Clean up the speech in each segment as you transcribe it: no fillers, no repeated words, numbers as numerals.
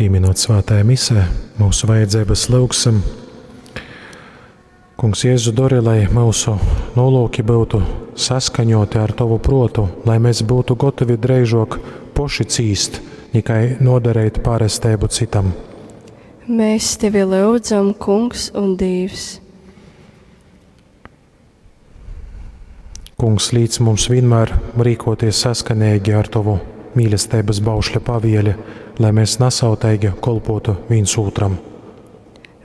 Pīminot svētajā misē, mūsu vajadzības lyugsim. Kungs Jēzu dori, lai mūsu nolūki būtu saskaņoti ar Tovu protu, lai mēs būtu gotovi dreižok poši cīst, nikai nodarīt pārestēbu citam. Mēs tevi lūdzam, Kungs un Dievs. Kungs, līdz mums vienmēr rīkoties saskanīgi ar Tavu mīlestības baušļa pavieli, lai mēs nasauteigi kolpotu viens otram.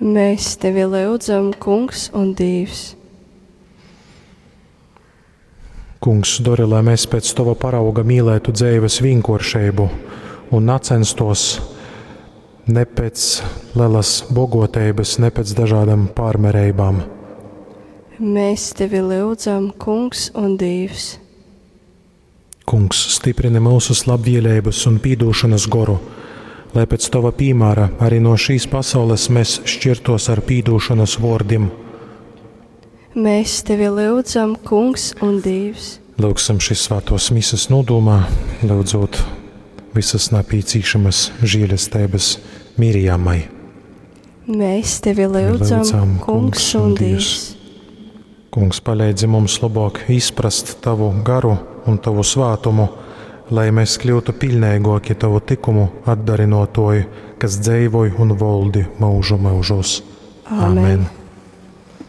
Mēs tevi lūdzam, Kungs un Dievs. Kungs, dori, lai mēs pēc Tava parauga mīlētu dzīves vienkāršību un nacenstos ne pēc lielas bogotības, ne pēc dažādām pārmērībām. Mēs tevi lūdzam, Kungs un Dievs. Kungs, stiprini mūsu labvēlības un pīdūšanas goru, lai pēc Tava piemēra arī no šīs pasaules mēs šķirtos ar pīdūšanas vārdiem. Mēs tevi lūdzam, Kungs un Dievs. Lūgsim šīs svētos mises nodomā, lūdzot visas napīcīšamas žēlestības Mirjamai. Mēs tevi lūdzam, Lūdzam, Kungs un Dievs. Kungs, palīdzi mums labāk izprast Tavu garu un Tavu svātumu, lai mēs kļūtu pilnīgāki Tavu tikumu atdarinotoji, kas dzīvoj un valdi mūžu mūžos. Āmen.